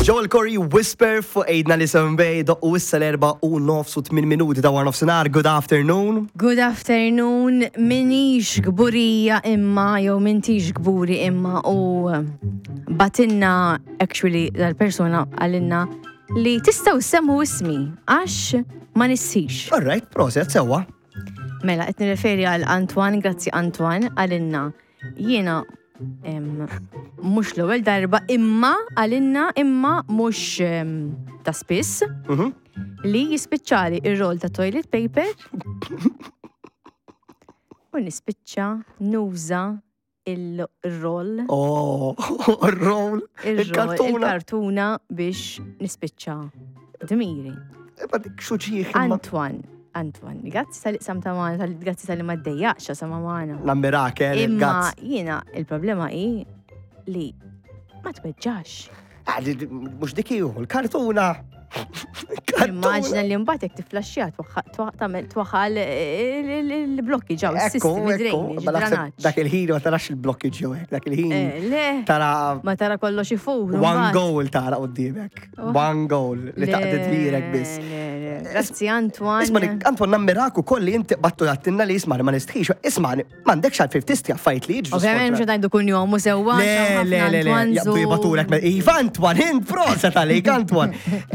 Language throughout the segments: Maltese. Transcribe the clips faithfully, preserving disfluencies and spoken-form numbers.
Joel Corry Whisper fuq Għidna li Bay doqqu issa l-erbgħa u nofs u tmien minuti ta' wara nofsinhar. Good afternoon. Good afternoon, minix kburija imma, jew mintix kburi imma u bagħtilna actually dal-persona qalilna li tistgħu ssemmu ismi għax ma nistħix. All right, proset, sewwa. Mela, qed nirreferi għal Antoine, grazzi Antoine, qalilna jiena em, mhux l-ewwel darba imma qalilna imma mhux em, ta' spiss Mhm. li jispiċċali ir-roll ta' toilet paper u nispiċċa nuża il-roll Oh, il-roll, il-roll, il-kartuna. il-kartuna biex nispiċċa dmiri. Ma dik xuġieħ imma. Antoine, Antoine, grazzi talli qsamt magħna, tal- grazzi talli ma ddejjaqx sama magħna. Nammirak, eh, Imma gazz. jiena il-problema hi li ma tweġġax. Ah, di- di- Mhux dik ihu, il-kartuna. Immaġina li mbagħad jekk tiflaxxija tagħmel twaħħal il-blokki ġew Ekku, is-sistemi ekku, drainage, ma naħseb drenaġġ. dak il-ħin ma tarax il-blokki ġew hekk, dak il-ħin Eh, Le, tara ma tara kollox ifur. one mbagħad. goal tara qudiemek. Oh. One goal li taqdi dmirek biss. Le, le, le. Grazzi Antoine. Isma, Antoine, nammirak ukoll li inti battu għattinna li isma ma nistħix. Isma, m'għandekx għalfejn tistħi affarijiet li jiġru. Ovvjament mhux ngħidu kuljum u sewwa. Le, le, le, le, jaqbdu jibagħtulek. me- Iva, Antoine, int proset għalik, Antoine.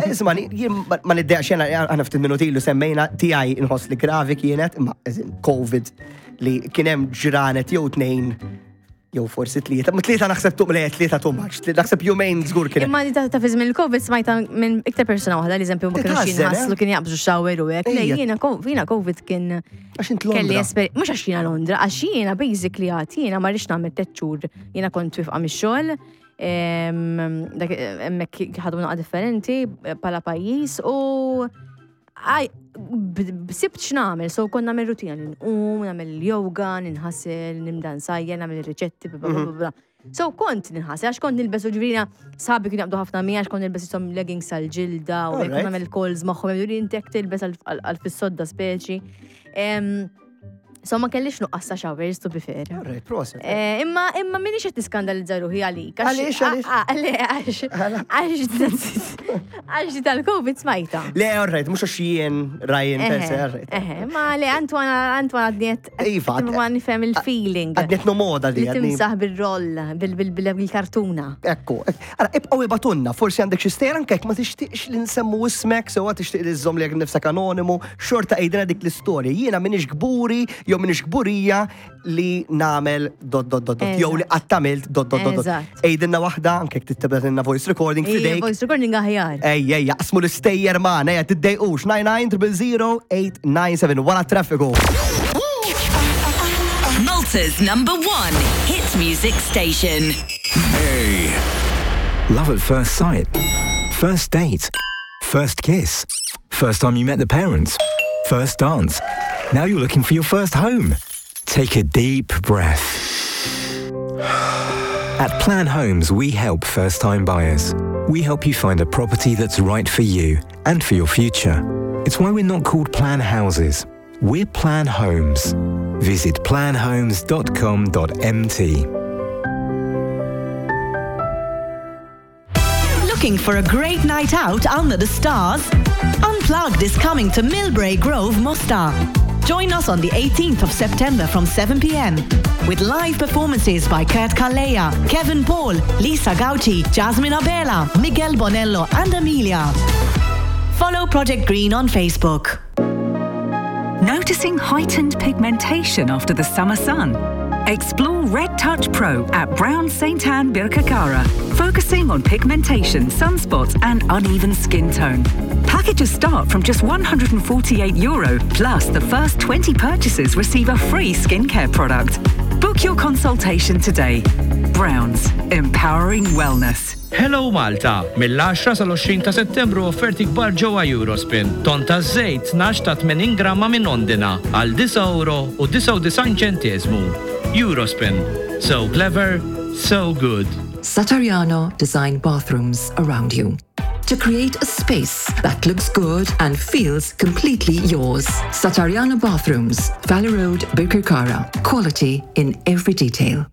Isma, jien ma ma niddejjaqx jena, għana ftit minuti ilu semmejna tiegħi nħoss li gravi kienet, imma eżin, Covid li kien hemm ġranet jew tnejn jew forsi tlieta, ma tlieta naħseb tuq le tlieta too much, naħseb jumejn żgur kien. Imma li ta' ta' fi żmien il-Covid smajta minn iktar persona waħda li eżempju ma kienux Titħażen, eh? jinħaslu kien jaqbżu shower u hekk. Le Ejja. jiena ko- jiena Covid kien Għax int kelli Londra. esper mhux għax jiena Londra, għax jiena basically għat jiena ma rridx nagħmel tliet xhur jiena kont wieqfa mix-xogħol. em, dak hemmhekk ħadu naqa differenti bħala pajjiż u għaj, b- b- sibt x'nagħmel, so kont nagħmel rutina li nqum, nagħmel yoga, ninħasel, nibda nsajjar, nagħmel ir-riċetti, bla bla bla bla. So kont ninħasel, għax kont nilbes u ġifieri sħabi kienu jaqbdu ħafna mija, għax kont nilbes jisom leggings għal-ġilda u hekk Alright. nagħmel calls magħhom, jgħidu li inti jekk tilbes għal fis-sodda speċi. Em, So ma kellix nuqqas ta' showers, to be fair. Alright, proset. Eh, Imma imma minix qed niskandalizza ruħi għalik. għax- Għaliex, għaliex? Ah, ah, Le, għax għax għax tal-Covid smajta. Le, alright, mhux għax jien Ryan per se, alright. Eħe, ma le, Antoine, Antoine għadniet, Iva, ma nifhem il-feeling. Għadniet no moda di, Li għadni. timsaħ bil-roll, bil-kartuna. Ekku, ara, ibqgħu ibagħtulna, forsi għandek xi stejjer anke jekk ma tixtieqx li nsemmu ismek, sewa tixtieq li żżomm lilek nifsek anonimu, xorta għidilna dik l-istorja. Jiena minix kburi, jew minix kburija li nagħmel dot dot dot dot, jew li qatt għamilt dot dot dot dot. Eżatt. Għidilna waħda, anke jekk tibgħatilna voice recording f'idejk. Voice recording aħjar. Ej, ej, jaqsmu l-istejjer magħna, ejja, tiddejqux, nine nine zero zero eight nine seven, wara traffiku. Malta's number one hit music station. Hey. Love at first sight. First date. First kiss. First time you met the parents. First dance. Now you're looking for your first home. Take a deep breath. At Plan Homes, we help first time buyers. We help you find a property that's right for you and for your future. It's why we're not called Plan Houses. We're Plan Homes. Visit planhomes dot com dot M T. Looking for a great night out under the stars? Unplugged is coming to Millbrae Grove, Mosta. Join us on the eighteenth of September from seven p m with live performances by Kurt Calleja, Kevin Paul, Lisa Gauci, Jasmine Abela, Miguel Bonello, and Amelia. Follow Project Green on Facebook. Noticing heightened pigmentation after the summer sun? Explore Red Touch Pro at Brown Saint Anne Birkirkara, focusing on pigmentation, sunspots, and uneven skin tone. Packages start from just one hundred forty-eight euro, plus the first twenty purchases receive a free skincare product. Book your consultation today. Browns, empowering wellness. Hello Malta! Mill-għaxra sal-għoxrin ta' Settembru offerti kbar ġewwa Eurospin. Ton ta' żejt tnax ta' tmenin gramma minn Ondina għal disa' euro u disgħa u disgħin ċenteżmu. Eurospin. So clever, so good. Satariano design bathrooms around you to create a space that looks good and feels completely yours. Satariano Bathrooms, Valley Road, Birkirkara. Quality in every detail.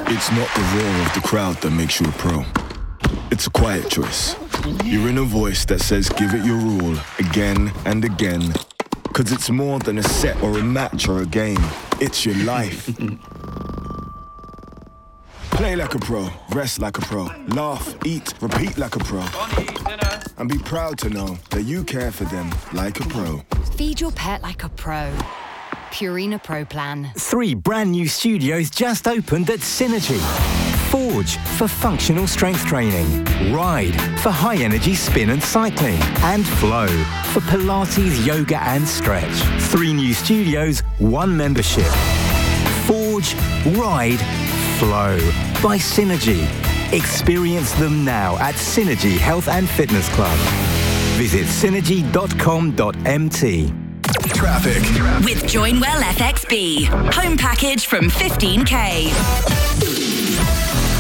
It's not the roar of the crowd that makes you a pro. It's a quiet choice. Your inner voice that says give it your all, again and again. Cause it's more than a set or a match or a game. It's your life. Play like a pro, rest like a pro, laugh, eat, repeat like a pro. And be proud to know that you care for them like a pro. Feed your pet like a pro. Purina Pro Plan. Three brand new studios just opened at Synergy. Forge for functional strength training, Ride for high energy spin and cycling, and Flow for Pilates, yoga and stretch. Three new studios, one membership. Forge, Ride, Flow by Synergy. Experience them now at Synergy Health and Fitness Club. Visit synergy.com.mt. Traffic. With Joinwell FXB. Home package from fifteen K.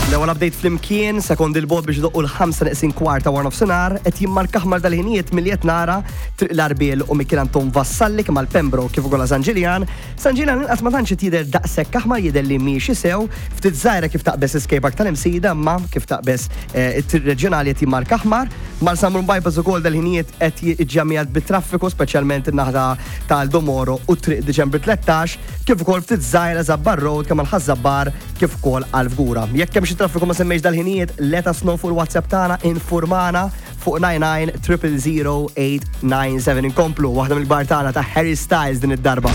L-ewwel update flimkien, sekondi 'l bogħod biex idoqqu l-ħamsa neqsin kwarta wara nofsinhar, qed jimmarka aħmar dal-ħinijiet milli qed nara Triq l-Għarbiel u Mikiel Anton Vassalli kemm għal Pembroke kif ukoll San Ġiljan. San Ġiljan inqas ma tantx jidher daqshekk aħmar jidher li miexi sew, ftit żgħira kif taqbeż skate park tal-Imsida, ma kif taqbeż eh, it-triq reġjonali qed jimmarka aħmar. Marsamrun Bypass ukoll dal-ħinijiet qed jiġġamjat bit-traffiku speċjalment in-naħa tal-Domoro u triq Diċembru tlettax, kif ukoll ftit żgħira Żabbar Road kemm għal Ħaż-Żabbar kif ukoll għal Fgura. Jekk hemm xi traffiku ma semmejx dal-ħinijiet, let us know fuq il-WhatsApp tagħna informana fuq nine nine triple zero eight nine seven. Inkomplu waħda mill-kbar tagħna ta' Harry Styles din id-darba.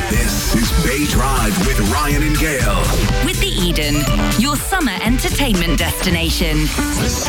This is Bay Drive with Ryan and Gail. With the Eden, your summer entertainment destination.